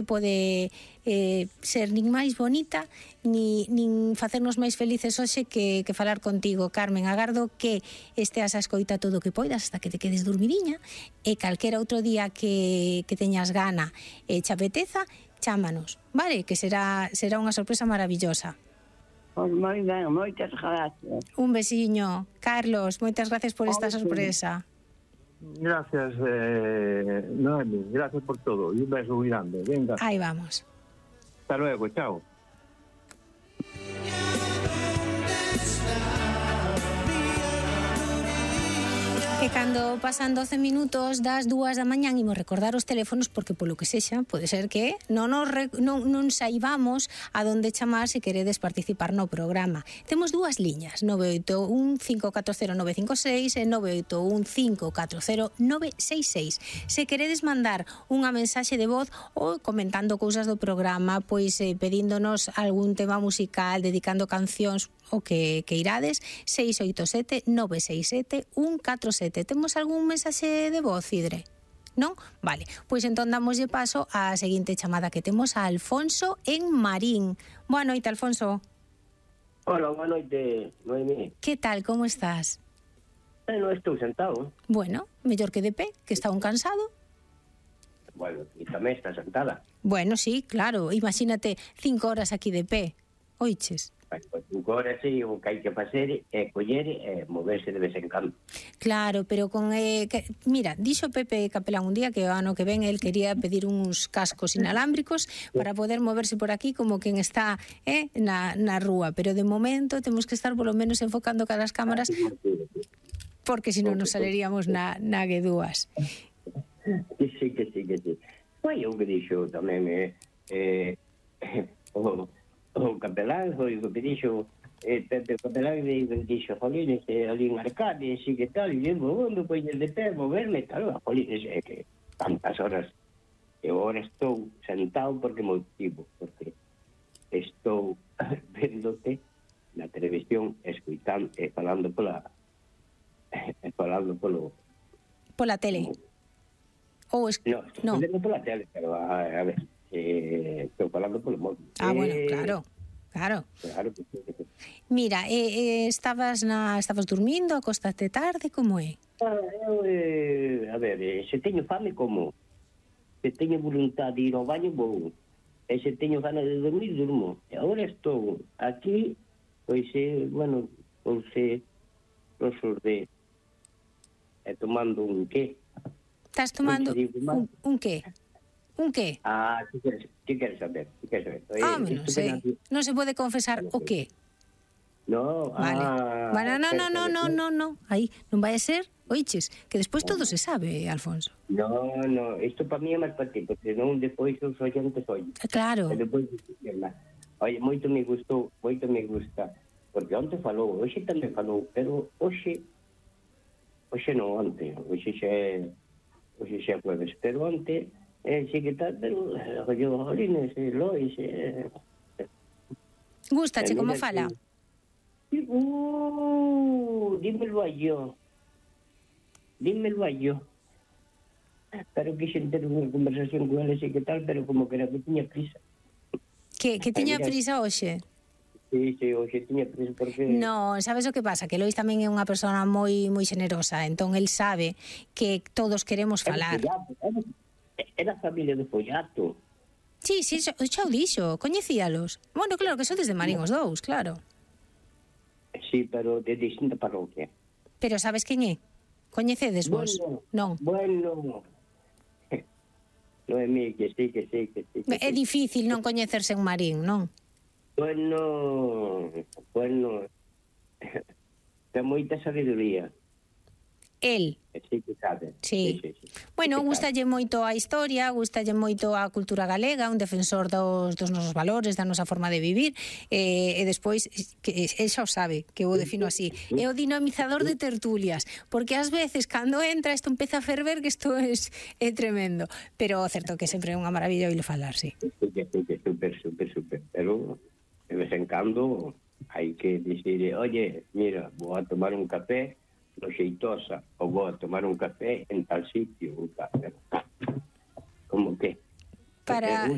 pode ser nin máis bonita nin facernos máis felices hoxe que falar contigo, Carmen. Agardo que esteas a escoita todo o que poidas hasta que te quedes dormidiña, e calquera outro día que teñas gana e che apeteza, chámanos, vale? Que será unha sorpresa maravillosa. Pois moi ben, moitas gracias. Un besiño. Carlos, moitas gracias por esta sorpresa. Gracias, Noemi, gracias por todo. Y un beso muy grande. Venga. Ahí vamos. Hasta luego, chao. E cando pasan 12 minutos das 2 da mañán imos recordar os teléfonos porque polo que sexa pode ser que non saibamos a donde chamar se queredes participar no programa. Temos dúas liñas, 981-540-956 e 981-540-966. Se queredes mandar unha mensaxe de voz ou comentando cousas do programa, pois pedíndonos algún tema musical, dedicando cancións, o que irades, 687-967-147. Temos algún mensaxe de voz, Idre? Non? Vale, pois entón damoslle paso á seguinte chamada que temos a Alfonso en Marín. Boa noite, Alfonso. Hola, boa noite, Noemí. Que tal, como estás? Non estou sentado. Bueno, mellor que de pé, que está un cansado. Bueno, e tamén está sentada. Bueno, sí, claro, imagínate 5 horas aquí de pé. Oiches. Pois 5 horas sí, o que hai que facer é coller e moverse de vez en cando. Claro, pero con... mira, dixo Pepe Capelán un día que o ano que ven el quería pedir uns cascos inalámbricos para poder moverse por aquí como quen está na rúa, pero de momento temos que estar polo menos enfocando cada as cámaras porque senón nos saleríamos na guedúas. Que sí. Pois o que dixo tamén o capelán foi o que dixo Pepe Capelán dixo jolines ali en Arcade e que tal, e eu vou pois de pé moverme tal, jolines que tantas horas e agora estou sentado porque motivo, porque estou vendote na televisión escuitando e falando pola tele ou no, estou pola tele, pero a ver estou falando polo móvil. Bueno, claro. Que sí. Mira, estabas dormindo, acostaste tarde, como é? A ver, se teño fame, como? Se teño voluntad de ir ao baño, vou. E se teño ganas de dormir, durmo. E agora estou aquí, pois, bueno, de tomando un qué. Estás tomando un qué? Un qué? ¿Qué quieres saber? Non sei. Non se pode confesar o qué? No, vale. No. Aí, non vai a ser, oiches, que despois todo se sabe, Alfonso. No, isto para mí é máis para ti, porque non despois os oyentes oyen. Claro. Oye, moito me gusta, porque onte falou, hoxe tamén falou, pero hoxe non onte, hoxe xa é jueves, pero onte sí que tal, pero yo, Jolines, Lois... Gústache como fala? Dímelo a yo. Pero quise ter unha conversación con ela, sí que tal, pero como que era que tiña prisa. Que tiña prisa hoxe? Sí, hoxe tiña prisa porque... No, sabes o que pasa? Que Lois tamén é unha persona moi xenerosa, entón el sabe que todos queremos falar. Era a familia do Follato. Sí, xa o dixo, coñecíalos. Bueno, claro que sodes de Marín os dous, claro. Sí, pero de distinta parroquia. Pero sabes quen é? Coñecedes vos? Non. Bueno. Noemí, que sí. É difícil non coñecerse en Marín, non? Bueno. Ten moita sabiduría. El. Sí, que sabe. Sí. Bueno, gústalle moito a historia, gústalle moito a cultura galega, un defensor dos nosos valores, da nosa forma de vivir, e despois, que xa o sabe, que eu o defino así, é o dinamizador de tertulias, porque ás veces, cando entra, isto empeza a ferver, que isto é tremendo, pero certo que sempre é unha maravilla oírle falar, sí. Super, pero de vez en cando hai que dicir, oye, mira, vou a tomar un café no Xeitosa, ou vou a tomar un café en tal sitio, como que? Para...